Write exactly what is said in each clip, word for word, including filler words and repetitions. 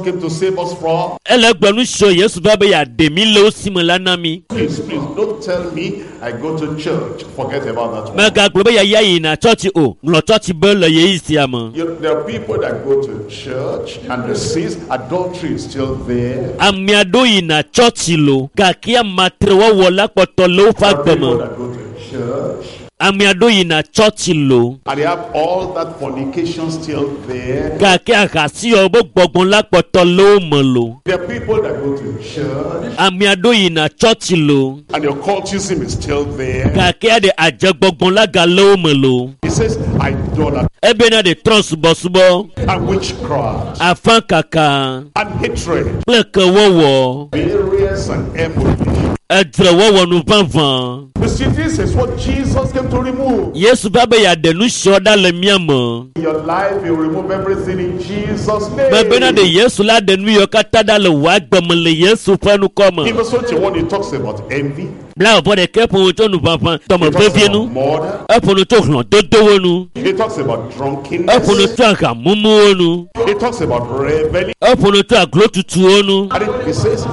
came to save us from. Ele gblɔ nu siwo Yesu va be yeaɖe mi le wo si me la na mi. Please, please, don't tell me I go to church. Forget about that one. Megagblɔ be yeaya yina tsɔtsi o. Ŋlɔ tsɔtsi be le yeyi sia me. You know, there are people that go to church and the sins, adultery is still there. Ame aɖewo yina tsɔtsi lo gake amatrewɔwɔ la kpɔtɔ le woƒe There are agbe people me. that go to church Ame aɖewo yina tsɔtsi lo and they have all that fornication still there. gake ahasiwɔwɔ be gbɔgbɔ la kpɔtɔ le wo me lo. There are people that go to church Ame aɖewo yina tsɔtsi lo and the occultism is still there. gake aɖe adzegbɔgbɔ la gale wo me lo. He says idolatry Ebena ɖe trɔ subɔsubɔ, and witchcraft afã kaka and hatred, kple kewɔwɔ, variance and enmity. edzrewɔwɔ nu vavã. You see, this is what Jesus came to remove. Yesu va be yeaɖe nu siawo ɖa le mía me. In your life, you remove everything in Jesus' Mebena ɖe name. Yesu la ɖe nu yiwo katã ɖa le wò agbe me le Yesu ƒe ŋkɔ me. In verse twenty-one, he talks about envy, Blaeve ɖekɛ ƒo nu tso nuʋaʋã he dɔme talks vevie about nu. murder, Eƒo nu tso hlɔ̃dodowo nu. he talks about Eƒo nu drunkenness, tso ahamumuwo nu. he talks about reveling. Eƒo nu tso aglotutuwo nu. And he says,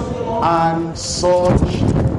and such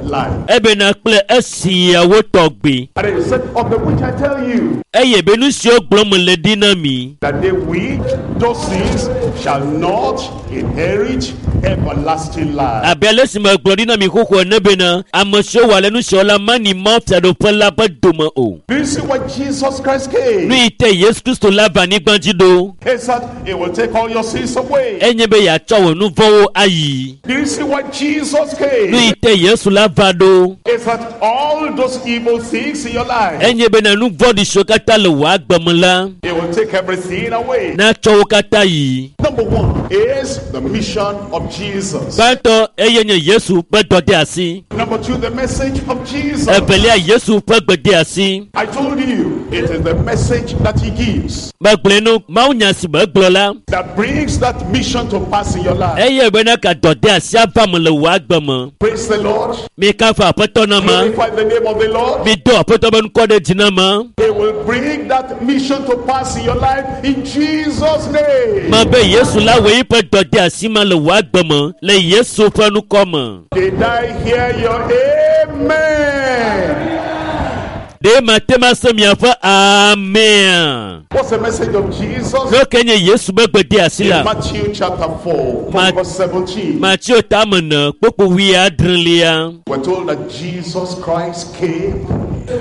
like. Ebena kple esiawo tɔgbi. And then he said, of the which I tell you, Eye be nu siwo gblɔm mele ɖi na mi. that they which those things shall not inherit everlasting life. Abe ale si megblɔ ɖi na mi xoxo ene bena ame siwo wɔ ale nu siawo la mani Mawu fiaɖuƒe la ƒe dome o. Do you see why Jesus Christ Nu came? yi te Yesu Kristo la va anyigba dzi ɖo. He said, He will take all your sins away. Enye be yeatsɔ wò nu vɔ̃wo ayi. Do you see why Jesus Nu yi came? te Yesu la va ɖo. Is that all those evil things in your life, Enye bena nu vɔ̃ɖi siwo katã le wò agbe me la He will take everything away. natsɔ wo katã yi. Number one is the mission of Jesus. Gbãtɔ eye nye Yesu ƒe dɔdeasi. Number two, the message of Jesus. Evelia Yesu ƒe gbedeasi. I told you, it is the message that he gives Megblɔe nu mawunya si megblɔ la that brings that mission to pass in your life. eye bena ka dɔdeasi ava me le wò agbe me. Praise the Lord. Mi kafu aƒetɔ na ma. Glorify the name of the Lord. Mi do aƒetɔ be ŋkɔ ɖe dzi na ma. He will bring that mission to pass in your life in Jesus' name. Me be Yesu la wɔ eƒe dɔdeasi ma le wò agbe me le Yesu ƒe ŋkɔ me. Did I hear your amen? Ɖe mate ma se miaƒe amea. What's the message of Jesus? Nu ke nye Yesu be gbedeasi In la. Matthew chapter four, Ma- from verse seventeen, Mateo tame ne kpokpo wuiadrelia. we're told that Jesus Christ came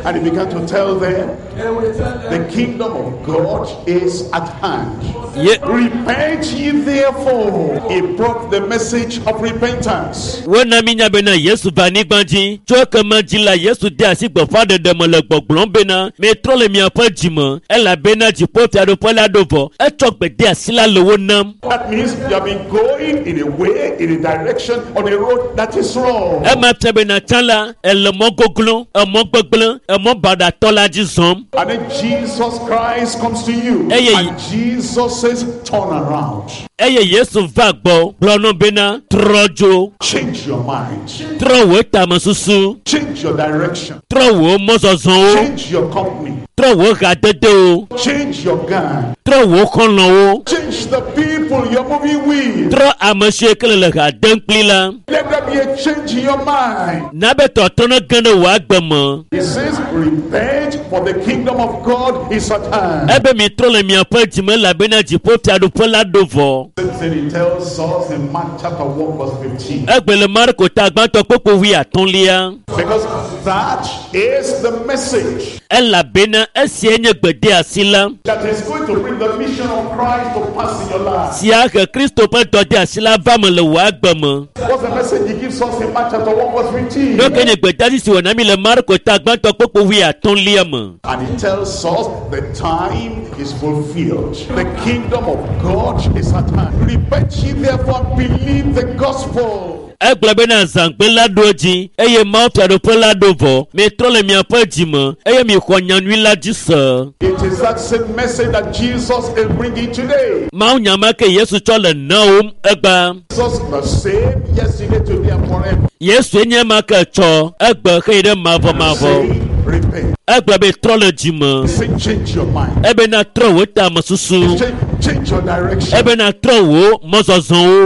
and he began to tell them the kingdom of God is at hand. Ye Repent ye therefore. He brought the message of repentance. wona mi nya bena Yesu va anyigba dzi. Tso ekema dzi la Yesu de asi gbeƒãɖeɖe me le gbɔgblɔm bena mitrɔ le miaƒe dzime elabena dziƒofiaɖuƒe la ɖo vɔ. Etsɔ gbedeasi la le wo nam. That means you have been going in a way, in a direction, on a road that is wrong. Ema fia bena tsã la ele mɔ goglo, emɔ gbegblẽ, emɔ baɖatɔ la dzi zɔm. And then Jesus Christ comes to you. Hey, hey. And Jesus says, turn around. Eye Yesu va gbɔ gblɔ nɔ bena trɔ dzo, Change your mind. trɔ wò tamesusu, Change your direction. trɔ wò mɔzɔzɔwo, Change your company. trɔ wò hadedewo, Change your gang. trɔ wò xɔlɔ̃wo, Change the people you're moving with. trɔ ame siwo ke le le ha dem kpli la. Let there be a change in your mind. Na be tɔtrɔ ne ge ɖe wò agbe me. He says, repent, for the kingdom of God is at hand. Ebe mitrɔ le miaƒe dzime elabena dziƒofiaɖuƒe la ɖo vɔ. Same thing he tells us in Mark chapter one verse fifteen. Egbe le Marko ta gbãtɔ kpokpo wuiatɔ̃lia. Because that is the message Elabena esia nye gbedeasi la. that is going to bring the mission of Christ to pass in your life. Sia he Kristo ƒe dɔdeasi la va me le wò agbe me. What's the message he gives us in Mark chapter one verse fifteen? Nu ke nye gbedeasi si wòna mi le Marko ta gbãtɔ kpokpo wuiatɔ̃lia me. And he tells us the time is fulfilled. The kingdom of God is at hand. Repent ye therefore and believe the gospel. Egblɔ bena zãgbe la ɖo edzi eye Mawu fiaɖuƒe la ɖo vɔ. Mitrɔ le miaƒe dzime eye mixɔ nyanyui la dzi se. It is that same message that Jesus is bringing today. Mawu nya ma ke Yesu tsɔ le nawòm egbea. Jesus the same yesterday, today, and forever. Yesu nye ma ke tsɔ egbe xëyi ɖe mavɔmavɔ. Say, repent. Egblɔ be trɔ le dzime. Say, change your mind. Ebena trɔ wò tamesusu. Change, change your direction. Ebena trɔ wò mɔzɔzɔwo.